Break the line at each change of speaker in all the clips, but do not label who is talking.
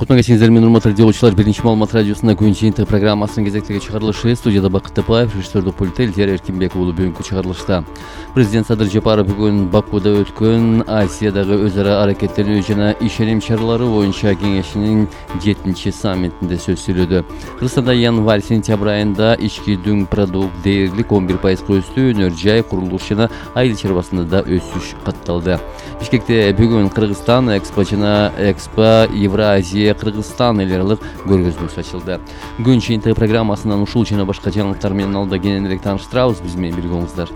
Кутман кечиңиздер менен урматтуу радиолучулар, биринчи маалымат радиосунда күн жыйынтык программасынын кезектеги чыгарылышы. Студияда Бакыт Тапаев, режиссердик пультте Элдер Эркинбек уулу. Бүгүнкү чыгарылышта президент Садыр Жапаров бүгүн Бакуда өткөн Азиядагы өз ара аракеттенүү жана ишеним чаралары боюнча кеңешинин 7-чи саммитинде сөз сүйлөдү. Кыргызстанда январь-сентябрь айында ички дүң продукт дээрлик 11% өстү, өнөр жай, курулуш жана айыл чарбасында да өсүш катталды. Бишкекте бүгүн Кыргызстан Экспо жана Экспо Евразия Кыргызстан эл аралык көргөзмөсү ачылды. Күн жыйынтыгы программасынан ушул жана башка жаңылыктар менен алда кененирээк тааныштырабыз. Биз менен бирге болуңуздар.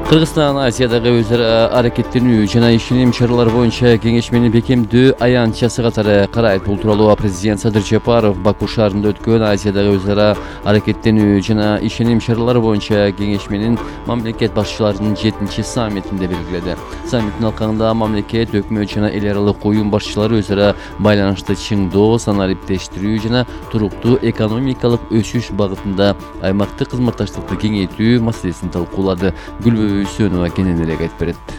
Кыргызстан Азиядагы өз ара аракеттенүү жана ишеним чаралары боюнча кеңешмени бекемдөө аянтчасы катары карайт. Бул тууралуу президент Садыр Жапаров Баку шаарында өткөн Азиядагы өз ара аракеттенүү жана ишеним чаралары боюнча кеңешменин мамлекет башчыларынын 7-чи саммитинде белгиледи. Саммиттин алкагында мамлекет, өкмөт жана эл аралык уюм башчылары өз ара байланышты чыңдоо, санариптештирүү жана туруктуу экономикалык өсүш багытында аймактык кызматташтыкты кеңейтүү маселесин талкуулады. Үсөнова кененирээк айтып берет.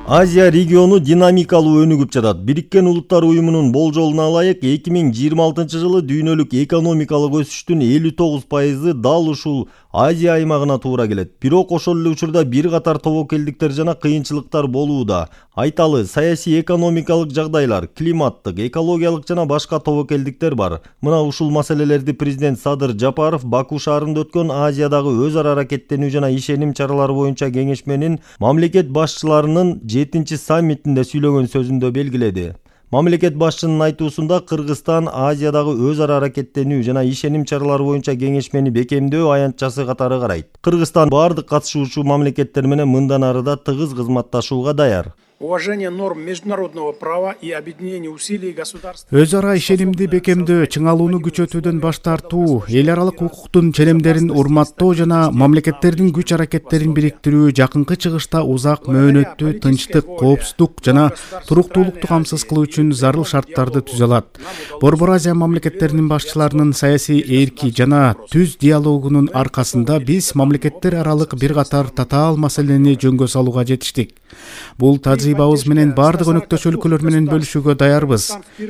Азия региону динамикалуу өнүгүп жатат. Бириккен Улуттар уюмунун болжолуна ылайык 2026 жылы дүйнөлүк экономикалык өсүштүн 59% дал ушул Азия аймагына туура келет. Бирок ошол эле учурда бир катар тобокелдиктер жана кыйынчылыктар болууда. Айталы, саясий экономикалык жагдайлар, климаттык, экологиялык жана башка тобокелдиктер бар. Мына ушул маселелерди президент Садыр Жапаров Баку шаарында өткөн Азиядагы өз ара аракеттенүү жана ишеним чаралары боюнча кеңешменин мамлекет башчыларынын 7-чи саммитинде сүйлөгөн сөзүндө белгиледи. Мамлекет башчынын айтуусунда Кыргызстан Азиядагы өз ара аракеттенүү жана ишеним чаралары боюнча кеңешмени бекемдөө аянтчасы катары карайт. Кыргызстан бардык катышуучу мамлекеттер менен мындан ары да тыгыз кызматташууга даяр.
Уважение норм международного права и объединение усилий государств.
Өз ара ишенимди бекемдөө, чыңалууну күчөтүүдөн баш тартуу, эл аралык укуктун ченемдерин урматтоо жана мамлекеттердин күч аракеттерин бириктирүү жакынкы чыгышта узак мөөнөттүү тынчтык, коопсуздук жана туруктуулукту камсыз кылуу үчүн зарыл шарттарды түзө алат. Борбор Азия мамлекеттеринин башчыларынын саясий эрки жана түз диалогунун аркасында биз мамлекеттер аралык бир катар татаал маселени жөнгө салууга жетиштик. Бул тажрыйбабыз менен бардык өнөктөш өлкөлөр менен бөлүшүүгө даярбыз.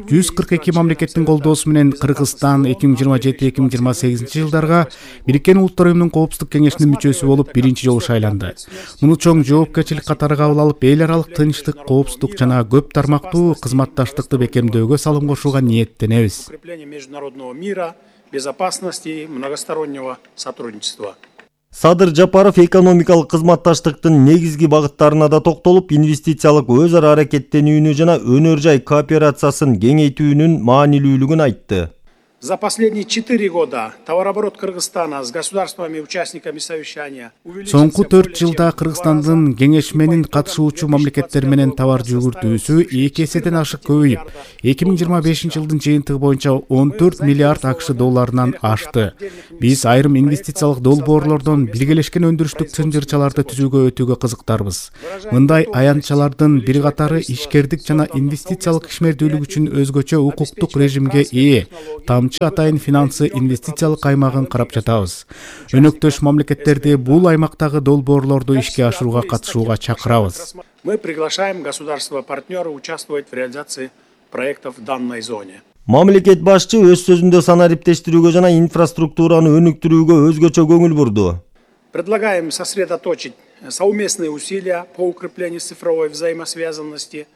142 мамлекеттин колдоосу менен Кыргызстан 2027-2028 жылдарга Бириккен Улуттар уюмунун коопсуздук кеңешинин мүчөсү болуп биринчи жолу шайланды. Муну чоң жоопкерчилик катары кабыл алып, эл аралык тынчтык, коопсуздук жана көп тармактуу кызматташтыкты бекемдөөгө салым кошууга ниеттенебиз.
Укрепление международного мира, безопасности и многостороннего сотрудничества.
Садыр Жапаров экономикалык кызматташтыктын негизги багыттарына да токтолуп, инвестициялык өз ара аракеттенүүнү жана өнөр жай кооперациясын кеңейтүүнүн маанилүүлүгүн айтты.
За последние 4 года товарооборот Кыргызстана с государствами-участниками совещания
Соңку 4 жылда Кыргызстандын кеңешменин катышуучу мамлекеттер менен товар жүгүртүүсү 2 эседен ашык көбөйүп, 2025 жылдын жыйынтыгы боюнча 14 миллиард АКШ долларынан ашты. Биз айрым инвестициялык долбоорлордон биргелешкен өндүрүштүк чынжырчаларды түзүүгө өтүүгө кызыктарбыз. Мындай аянтчалардын бир катары ишкердик жана инвестициялык ишмердүүлүк үчүн өзгөчө укуктук режимге ээ. Атайын финансы инвестициялык аймагын карап жатабыз. Өнөктөш мамлекеттерди бул аймактагы долбоорлорду ишке ашырууга катышууга чакырабыз.
Мы приглашаем государства-партнеры участвовать в реализации проектов в данной зоне.
Мамлекет башчы өз сөзүндө санариптештирүүгө жана инфраструктураны өнүктүрүүгө өзгөчө көңүл бурду.
Предлагаем сосредоточить совместные усилия по укреплению цифровой взаимосвязанности.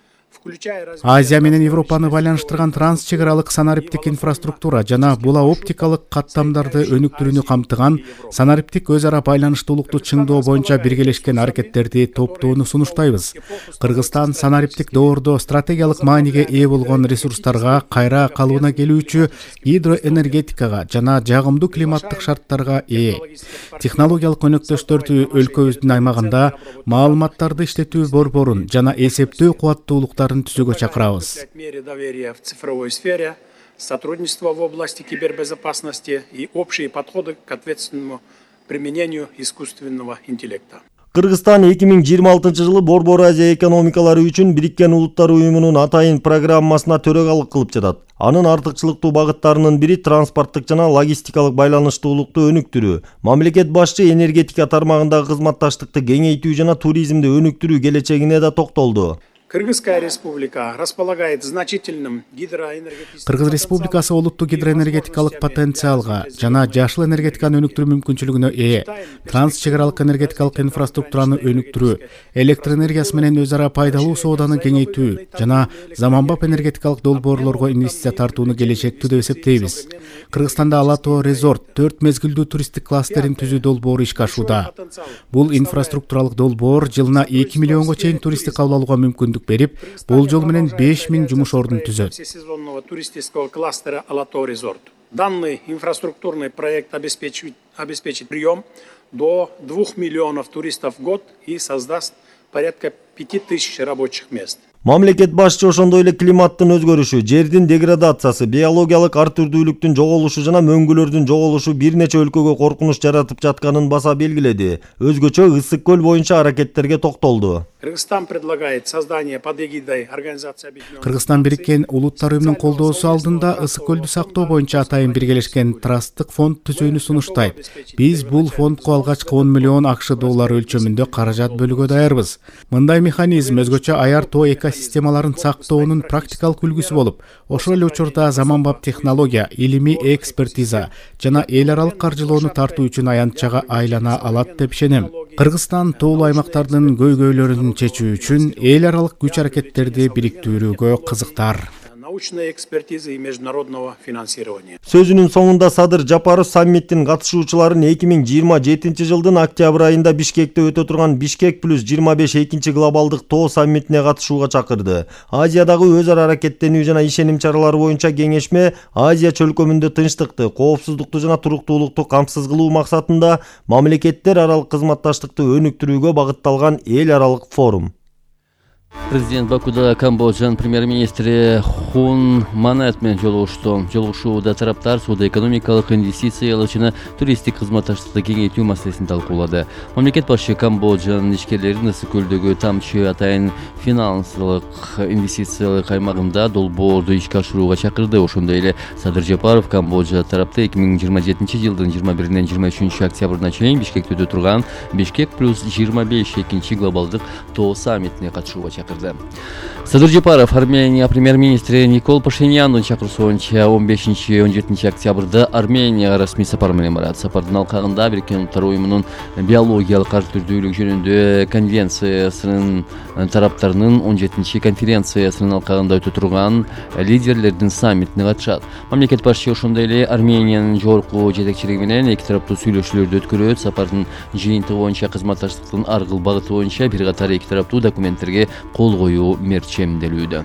Азия менен Европаны байланыштырган трансчек аралык санариптик инфраструктура жана була оптикалык каттамдарды өнүктүрүүнү камтыган санариптик өз ара байланыштуулукту чыңдоо боюнча биргелешкен аракеттерди топтоону сунуштайбыз. Кыргызстан санариптик доордо стратегиялык мааниге ээ болгон ресурстарга кайра калыбына келүүчү гидроэнергетикага жана жагымдуу климаттык шарттарга ээ. Технологиялык өнөктөштөрдү өлкөбүздүн аймагында маалыматтарды иштетүү борборун жана эсептөө кубаттуулуктарын түзүүгө чакырабыз.
В цифровой сфере, сотрудничество в области кибербезопасности и общие подходы к ответственному применению искусственного интеллекта.
Кыргызстан 2026 жылы Борбор Азия экономикалары үчүн Бириккен Улуттар уюмунун атайын программасына төрагалык кылып жатат. Анын артыкчылыктуу багыттарынын бири транспорттук жана логистикалык байланыштуулукту өнүктүрүү. Мамлекет башчы энергетика тармагындагы кызматташтыкты кеңейтүү жана туризмди өнүктүрүү келечегине да токтолду.
Кыргызская республика располагает значительным гидроэнергетическим...
Кыргыз Республикасы олуттуу гидроэнергетикалык потенциалга жана жашыл энергетиканы өнүктүрүү мүмкүнчүлүгүнө ээ. Транс чек аралык энергетикалык инфраструктураны өнүктүрүү, электр энергиясы менен өз ара пайдалуу сооданы кеңейтүү жана заманбап энергетикалык долбоорлорго инвестиция тартууну келечектүү деп эсептейбиз. Кыргызстанда Ала Тоо резорт 4 мезгилдүү туристтик кластерин түзүү долбоору ишке ашууда. Бул инфраструктуралык долбоор жылына 2 миллионго чейин туристти кабыл алууга мүмкүндүк берип, болжол менен 5000 жумуш ордун түзөт.
Всесезонного туристического кластера Ала Тоо резорт. Данный инфраструктурный проект обеспечит прием до 2 миллионов туристов в год и создаст порядка 5000 рабочих мест.
Мамлекет башчы ошондой эле климаттын өзгөрүшү, жердин деградациясы, биологиялык ар түрдүүлүктүн жоголушу жана мөңгүлөрдүн жоголушу бир нече өлкөгө коркунуч жаратып жатканын баса белгиледи. Өзгөчө Ысык көл боюнча аракеттерге токтолду.
Кыргызстан предлагает создание под эгидой Организации Объединенных...
Кыргызстан Бириккен Улуттар уюмунун колдоосу алдында Ысык көлдү сактоо боюнча атайын биргелешкен трасттык фонд түзүүнү сунуштайт. Биз бул фондко алгачкы 10 миллион АКШ доллары өлчөмүндө каражат бөлүүгө даярбыз. Мындай механизм өзгөчө аяр тоо экосистемаларын сактоонун практикалык үлгүсү болуп, ошол эле учурда заманбап технология, илимий экспертиза жана эл аралык каржылоону тартуу үчүн аянтчага айлана алат деп ишенем. Кыргызстан тоолуу аймактардын көйгөйлөрүн чечүү үчүн эл аралык күч-аракеттерди бириктирүүгө кызыктар.
Научной экспертизы и международного финансирования.
Сөзүнүн соңунда Садыр Жапаров саммиттин катышуучуларын 2027 жылдын октябрь айында Бишкекте өтө турган Бишкек плюс 25 экинчи глобалдык тоо саммитине катышууга чакырды. Азиядагы өз ара аракеттенүү жана ишеним чаралары боюнча кеңешме Азия чөлкөмүндө тынчтыкты, коопсуздукту жана туруктуулукту камсыз кылуу максатында мамлекеттер аралык кызматташтыкты өнүктүрүүгө багытталган эл аралык форум.
Президент Бакуда Камбоджанын премьер-министри Хун Манет менен жолугушту. Жолугушууда тараптар соода-экономикалык, инвестициялык жана туристтик кызматташтыкты кеңейтүү маселесин талкуулады. Мамлекет башы Камбоджанын ишкерлерин Ысык көлдөгү Тамчы атайын финансылык инвестициялык аймагында долбоорду ишке ашырууга чакырды. Ошондой эле Садыр Жапаров Камбоджа тарапты 2027 жылдын 21-ден 23 октябрына чейин Бишкекте өтө турган Бишкек плюс 25 экинчи глобалдык тоо саммитине катышууга чакырды. Садыр Жапаров Армения премьер-министри Никол Пашинянын чакыруусунча 15-17 октябрда Арменияга расмий сапар менен барат. Сапардын алкагында Бириккен Улуттар уюмунун биологиялык ар түрдүүлүк жөнүндө конвенциясынын тараптарынын 17 конференциясынын алкагында өтө турган лидерлердин саммитине катышат. Мамлекет башчы ошондой эле Армениянын жогорку жетекчилиги менен эки тараптуу сүйлөшүүлөрдү өткөрөт. Сапардын жыйынтыгы боюнча кызматташтыктын ар кыл багыты боюнча бир катар эки тараптуу документтерге кол коюу мерчемделүүдө.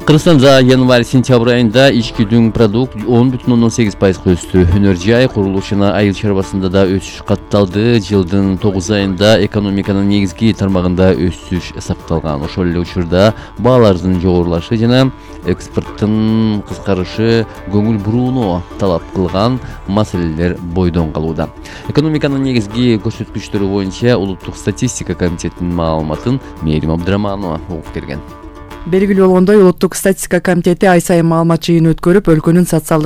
Кыргызстанда январь-сентябрь айында ички дүң продукт 10,8% өстү. Өнөр жай, курулуш жана айыл чарбасында да өсүш катталды. Жылдын 9 айында экономиканын негизги тармагында өсүш сакталган. Ошол эле учурда баалардын жогорулашы жана экспорттун кыскарышы көңүл бурууну талап кылган маселелер бойдон калууда. Экономиканын негизги көрсөткүчтөрү боюнча Улуттук статистика комитетинин маалыматын Мээрим Абдыраманова угуп берген.
Белгилүү болгондой, Улуттук статистика комитети ай сайын маалымат жыйыны өткөрүп, өлкөнүн социалдык